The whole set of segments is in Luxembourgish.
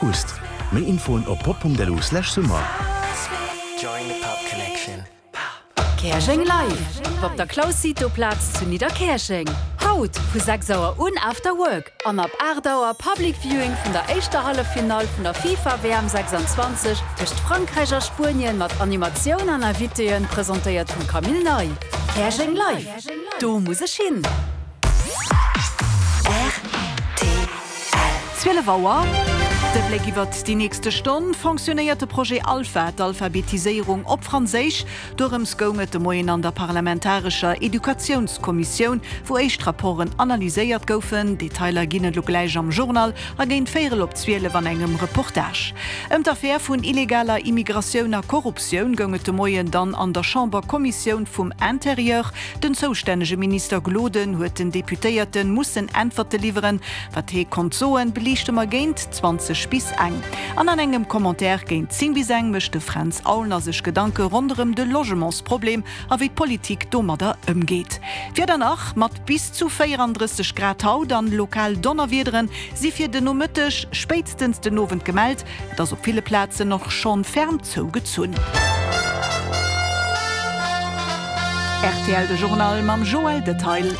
August. Méi Infoen op pop.lu/summer. Käerjeng Live! Op der Claus Cito Plaz zu Nidderkäerjeng. Haut vu 6 Auer un After Work an ab 8 Auer Public Viewing vun der éischter Halleffinall vun der FIFA WM 26 tëscht Frankräich a Spuenien mat Animatioun an Invitéen, presentéiert vum Camille Ney. Käerjeng Live! Do muss ech hin! 12 Auer, De Bléck iwwert déi nächste Stonn, Fonctionnéiert de Projet Alpha, d'Alphabetiséierung op Franséisch? Dorëms goung et de Moien an der parlamentarescher Educatiounskommissioun, wou éischt Rapporten analyséiert goufen. Detailer ginn et elo gläich am Journal a géint véierel op 12 an engem Reportage. Ëm d'Affär vun illegaler Immigratioun a Korruptioun goung et de Moien dann an der Chamberkommissioun vum Intérieur. Den zoustännege Minister Gloden huet den Deputéierte mussen Äntwerte liwweren. Wat hee konnt soen, beliichte mer géint 20 bis eng. An an engem Commentaire géint 10 bis eng mécht de Fränz Aulner sech Gedanke ronderëm de Logementsproblem a wéi d'Politik domadder ëmgeet. D'Wieder nach, Mat bis zu 34 Grad haut an lokal Donnerwiederen si fir de Nomëtteg, spéitstens den Owend gemellt. Et ass op ville Plazen och schonn ferm zougezunn. Rtl De Journal mam Joël Detail.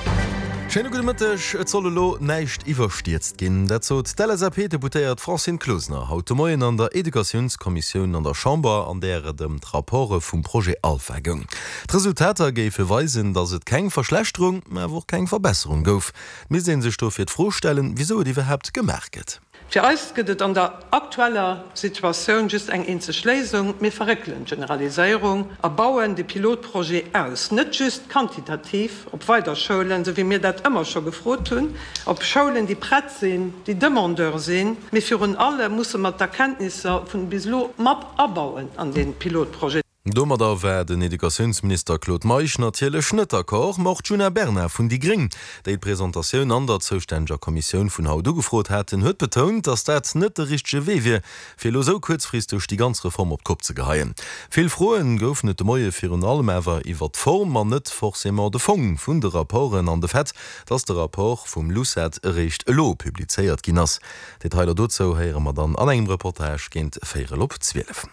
Schéine gudde Mëtteg. Et soll elo näischt iwwerstierzt ginn. Dat sot d'LSAP-Deputéiert Francine Closener haut de Moien an der Educatiounskommissioun an der Chamber, an där et ëm d'Rapporte vum Projet Alpha goung. D'Resultater géife weisen, datt et keng Verschlechterung, mä awer och keng Verbesserung gouf. Et misst ee sech dofir d'Fro stellen, wisou et iwwerhaapt gemaach gëtt. Fir eis gëtt et an der aktueller Situatioun just eng eenzeg Léisung, Mir verréckelen d'Generaliséierung a bauen de Pilotprojet aus, net just quantitativ op weider Schoulen, esou wéi mir dat ëmmer scho gefrot hunn, op Schoulen, déi prett sinn, déi Demandeur sinn, mee virun allem musse mer d'Erkenntnisser vun bis elo mat abauen an dee Pilotprojet. Domadder war den Educatiounsminister Claude Meisch natierlech net d'accord, ma och d'Djuna Bernard vun déi Gréng, déi d'Presentatioun an der zoustänneger Kommissioun vun haut ugefrot haten, huet betount, datt dat net de richtege Wee wier, fir elo esou kuerzfristeg déi ganz Reform op d'Kopp ze geheien. Vill Froen goufen et de Moie virun allem awer iwwer d'Form an net forcément de Fong vun de Rapporten an de Fait, datt de Rapport vum LUCET eréischt elo publizéiert ginn ass. Detailer dozou héiere mer dann an engem Reportage géint véierel op 12.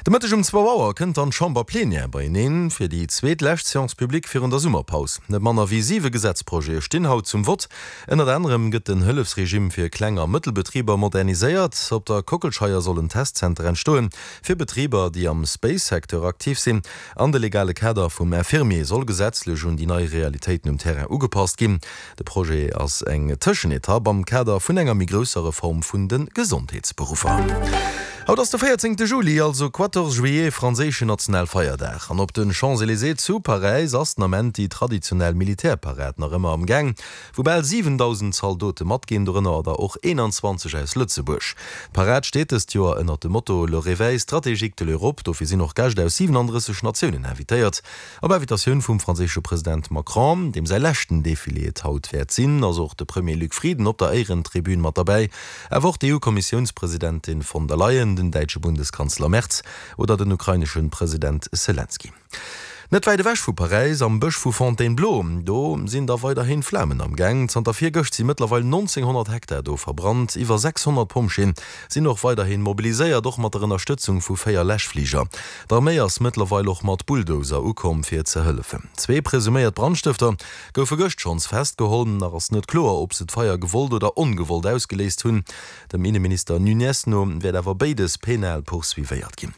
De Mëtteg um zwou Auer kënnt dann d'Chamber-Plenière beieneen fir déi zweet lescht Séance publique virun der Summerpaus. Net manner wéi siwe Gesetzprojete stinn haut zum Vott. Ënnert anerem gëtt den Hëllefsregime fir Kleng a Mëttelbetriber moderniséiert. Op der Kockelscheier soll en Testzenter entstoen fir Betriber, déi am Space-Secteur aktiv sinn. An de legale Kader vum Infirmier soll gesetzlech un déi nei Realitéiten um Terrain ugepasst ginn. De Projet ass eng Tëschenetapp am Kader vun enger méi grousser Reform vun de Gesondheetsberuffer. Haut ass de 14 Juli, also quatorze juillet, franséischen Nationalfeierdag. An op de Champs-Elysées zu Paräis ass den Ament déi traditionell Militärparad nach ëmmer am Gaang, wou bal 7.000 Zaldote matginn, dorënner der och 21 aus Lëtzebuerg. D'Parad steet dëst Joer ënnert dem Motto Le réveil stratégique de l'Europe. Dofir sinn och Gäscht aus 37 Natiounen invitéiert. Op Invitatioun vum franséische President Macron, deem säi leschten Defilé et haut wäert sinn, ass och de Premier Luc Frieden op der Éierentribün mat derbäi, awer och d'EU-Kommissiounspresidentin von der Leyen, den däitsche Bundeskanzler Merz oder den ukrainesche President Selenskyj. Net wäit ewech vu Paräis, am Bësch vu Fontainebleau, do sinn da weiderhin Flamen am Gaang. Zanter virgëscht si mëttlerweil 1.900 Hektar do verbrannt. Iwwer 600 Pompjeeën sinn och weiderhin mobiliséiert, och mat der Ënnerstëtzung vu 4 Läschfliger. D'Arméi ass mëttlerweil och mat Bulldozer ukomm fir ze hëllefen. Zwee presuméiert Brandstëfter goufe gëscht schonns festgeholl. Nach ass net kloer, ob se d'Feier gewollt oder ongewollt ausgeléist hunn. Dem Inneminister Nuñez no wäert awer béides penal poursuivéiert ginn.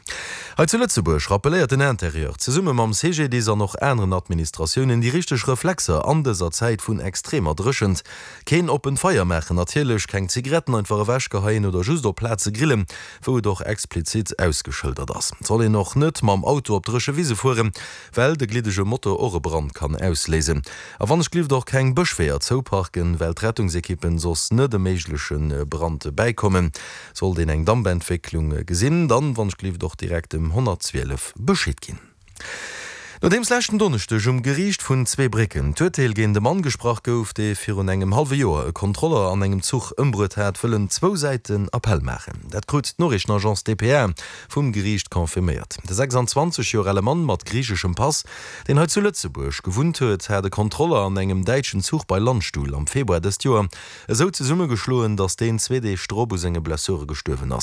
Hei zu Lëtzebuerg rappelléiert den Interieur zesumme mam CGDIS an och aneren Administratiounen déi richteg Reflexer an dëser Zäit vun extremer Dréchent. Keen oppent Feier maachen natierlech, keng Zigaretten einfach ewechgeheien oder just op Plaze grillen, wou et och explizit ausgeschëldert ass. Et soll een och net mam Auto op dréche Wise fueren, well de gliddege Motor och e Brand kann ausléisen. A wann ech glift och keng Bëschweeër zouparken, well d'Rettungsekippen soss net e méigleche Brand bäikommen. Sollt een eng Dampentwécklung gesinn, dann wann ech glift och direkt dem 112 Bescheed ginn. Nodeems leschten Donneschdeg um Geriicht vun Zweebrécken d'Urteel géint e Mann gesprach gouf, dee virun engem hallwe Joer e Kontroller an engem Zuch ëmbruet hat, wëllen zwou Säiten Appell maachen. Dat krut d'Noriichtenagence dpa vum Geriicht confirméiert. De 26 Joer ale Mann mat griicheschem Pass, deen hei zu Lëtzebuerg gewunnt huet, hat e Kontroller an engem däitschen Zuch bei Landstuhl am Februar dëst Joer esou zesummegeschloen, datt deen zwee Deeg drop u senge Blessure gestuerwen ass.